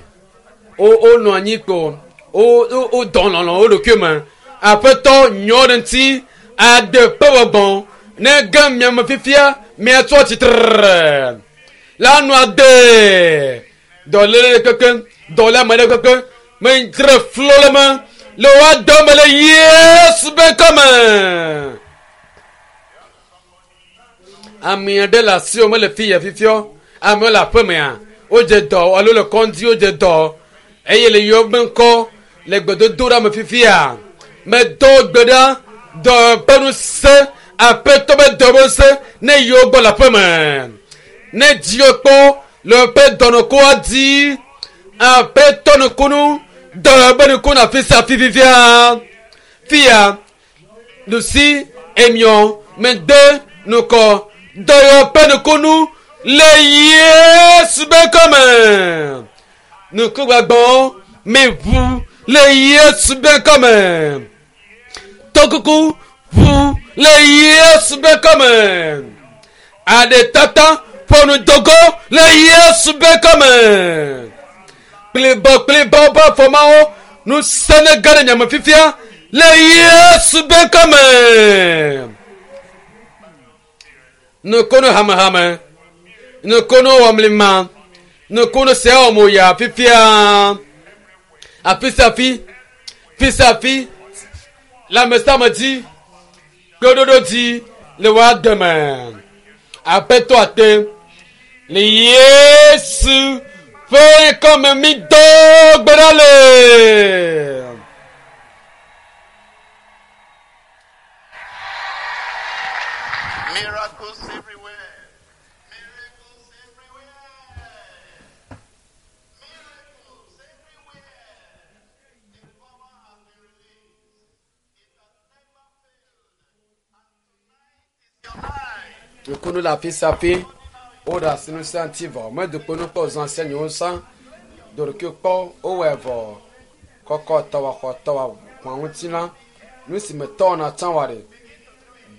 wo wonɔ anyi kpo wo wo wodɔ lɔlɔ wo ɖokui me aƒetɔ nyɔ ɖe ŋuti ade ƒe gbɔgbɔ ne ge miame fifia miatsɔ tsitre la nu ade dɔléle ɖe kpekpe dɔléame ɖe kpekpe medzre flo le me le woa dɔ me le Yesu ƒe ŋkɔme. Ame aɖe le asiwò mele fi ya fifiɔ amewo le aƒemea wodze dɔ alo le kɔdzi wodze dɔ eye le yɔ be ŋkɔ le gbedodoɖa me fifia medo gbe ɖa dɔ ƒe ŋusẽ aƒetɔ be dɔ ƒe ŋusẽ ne yiwo gbɔ le aƒeme ne dziwo kpɔ le ƒe dɔnɔkoa dzi aƒetɔ nukunu dɔ be nukunu afi sia afi fifia fia nusi emiɔ mede nukɔ dɔyɔ ƒe nukunu le Yesu be ŋkɔme nukugbagbɔ meʋu le Yesu be ŋkɔme tokuku ʋu le Yesu be ŋkɔme aɖetata ƒonu dogo le Yesu be ŋkɔme kplibɔ kplibɔ ƒe afɔmawo ŋusẽ ne ge ɖe nyame fifia le Yesu be ŋkɔme nukunu hamehame nukunu wɔmlima nukunu sia wɔm ya fifia afi sia afi fi sia afi le ame sia ame dzi kpeɖoɖo dzi le woa deme aƒetɔ ate le Yesu ƒe ŋkɔme mi do gbe ɖa le. Miracles everywhere. Miracles everywhere. Miracles everywhere. The power has been released. It has never failed. And tonight is your night. Nukunu le afi sia afi woɖe asi nu sia ŋuti vɔ medokpo nu kpɔ zã sia nyiwo sã ɖoɖokui kpɔ wowɔe vɔ kɔkɔ tɔwɔ xɔ tɔwɔ kpɔa ŋuti la nu si me tɔwɔna tsã wɔ ɖe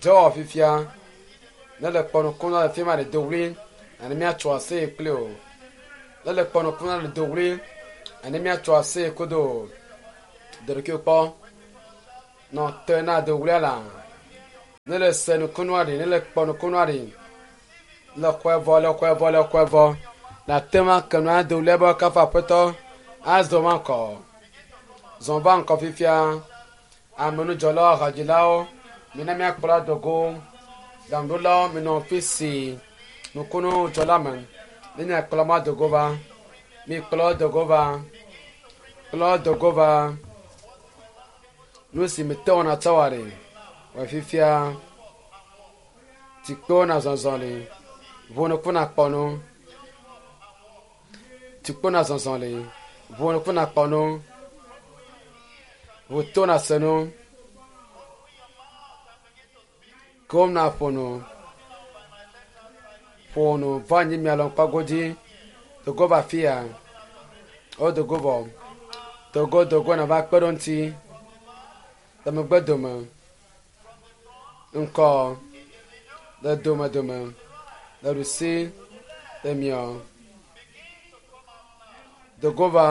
dɔwɔ fifia ne le kpɔ nukunu le fi ma ɖe do wli ani míatso aseye kpli o ne le kpɔ nukunu le do wli ani míatso aseye kodo o ɖoɖokui kpɔ nɔ te na do wlia la ne le se nukunua ɖe ne le kpɔ nukunua ɖe. Le xɔe vɔ, le xɔe vɔ, le xɔe vɔ. Na tema ke nua do le be kafa aƒetɔ azɔ va ŋkɔ. Zɔ va ŋkɔ fifia. Amenudzɔlawo, hadzilawo, mina míakplɔ adogo. Ɖaŋuɖolawo, minɔ fi si nukunudzɔla me. Ne miakplɔ ma dogo va. Mikplɔ dogo va. Kplɔ dogo va. Nu si mete wɔna tsɔ wa ɖe. Wɔ fifia. Tikpewo na zɔzɔ li. Ʋu na kpɔ nu. Tikpo na zɔzɔ li. Ʋu na kpɔ nu. Ʋu to na se nu. Kom na ƒo nu. Ƒo nu va anyi mia lɔ kpagodzi. Dogo va fia. O dogo vɔ. Dogo dogo na va kpe ɖo ŋuti. Le megbe dome. Ŋkɔ. Le dome dome. Le ɖusi. Le miɔ. Dogo va.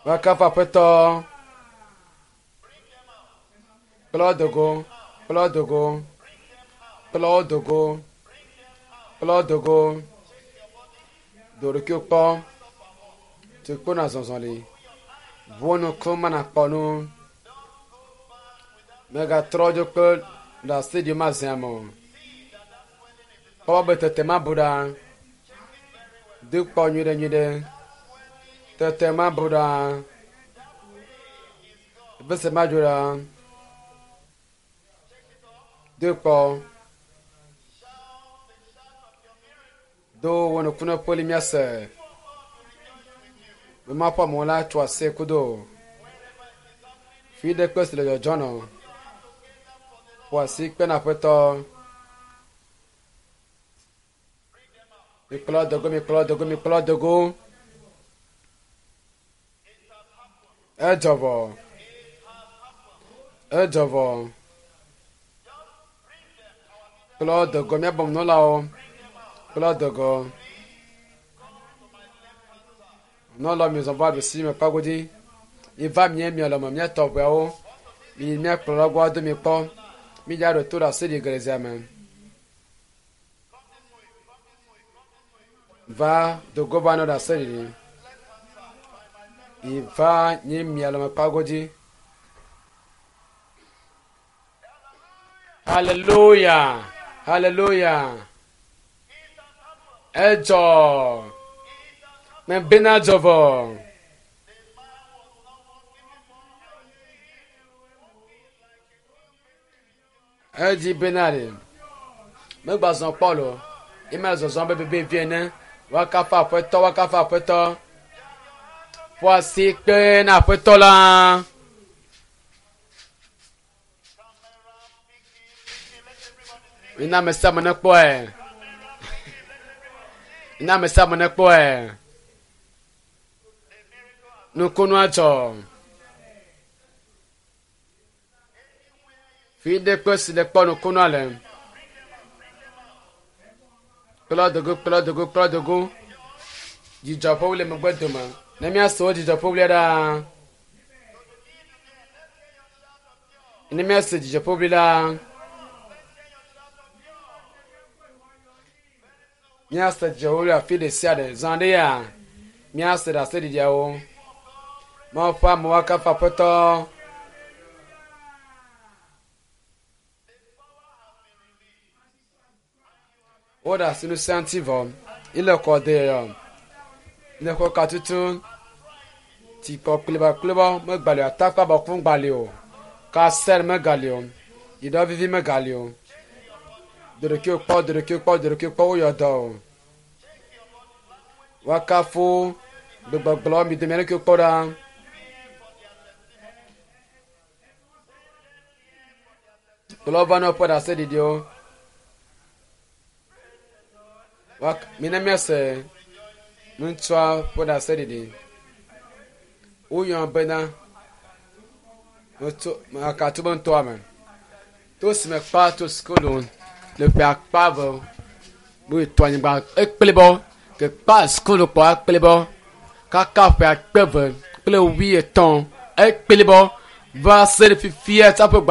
Va kafu aƒetɔ. Kplɔ dogo. Kplɔ dogo. Kplɔ dogo. Kplɔ dogo. Do ɖokuiwo kpɔ. Tukpo na zɔzɔ li. Ʋu nuku mana kpɔ nu. Megatrɔ dzo kple ɖase ɖi ma zia me o. Kpɔ be tete ma bu ɖa. Do kpɔ nyuiɖe nyuiɖe. Tete ma bu ɖa. Bese ma dzo ɖa. Do kpɔ. Do wɔ nuku ne ƒoli miase. Be ma ƒe amewo la tso ase kudo. Fi ɖe kpe si le dzɔdzɔ nɔ. Ƒo asi kpe na aƒetɔ. Mikplɔ dogo, mikplɔ dogo, mikplɔ dogo. Edzɔ vɔ. Edzɔ vɔ. Kplɔ dogo míabɔ nunɔlawo. Kplɔ dogo. Nunɔlawo mi zɔ va ɖusi me kpagodzi. Mi va mie mia lɔme miatɔ ʋeawo. Mi míakplɔ gbɔ ado mi kpɔ. Mi dza ɖo to ɖe asi ɖi gelezia me. Va dogo va nɔ ɖe asi ɖi. Mi va nye mia lɔme kpagodzi. Hallelujah. Hallelujah. Edzɔ. Mebena dzɔ vɔ. Edzi bena ɖe. Megbazɔ kpɔ lo. Ime zɔzɔm be bebe vie ene. Woakafu aƒetɔ, woakafu aƒetɔ. Ƒo asi kpe na aƒetɔ la. Mina ame sia ame nekpɔe. Mina ame sia ame nekpɔe. Nukunua dzɔ. Fi ɖe kpe si le kpɔ nukunua le. Kplɔ dogo, kplɔ dogo, kplɔ dogo. Dzidzɔ ƒe wli megbe dome. Ne míase wo dzidzɔ ƒe wlia ɖaa. Ne míase dzidzɔ ƒe wli la. Míase dzidzɔ ƒe wli afi ɖe sia ɖe. Zã ɖe ya. Míase ɖaseɖiɖiawo. Mawu ƒe amewo akafu aƒetɔ. Woɖe asi nu sia ŋuti vɔ. Ile kɔ de yɔ. Le xɔ ka tutu. Tikɔ klibakliba megali o. Atakpa bɔkun gali o. Kasɛl megali o. Yiɖɔ vivi megali o. Doɖokuiwo kpɔ, doɖokuiwo kpɔ, doɖokuiwo kpɔ woyɔ dɔ o. Woakafu gbegbɔgblɔ mi dome ɖokuiwo kpɔ ɖa. Kplɔ va ne woƒe ɖaseɖiɖiwo. Mina míase ŋutsua ƒe ɖaseɖiɖi. Woyɔ bena mekatu be ŋutɔa me. To si me kpa to sukulu le ƒe akpa ve bu to anyigba ekplibɔ ke kpa sukulu kpɔ ekplibɔ kaka ƒe akpe ve kple wuietɔ̃ ekplibɔ va se ɖe fifia tsaƒe gba.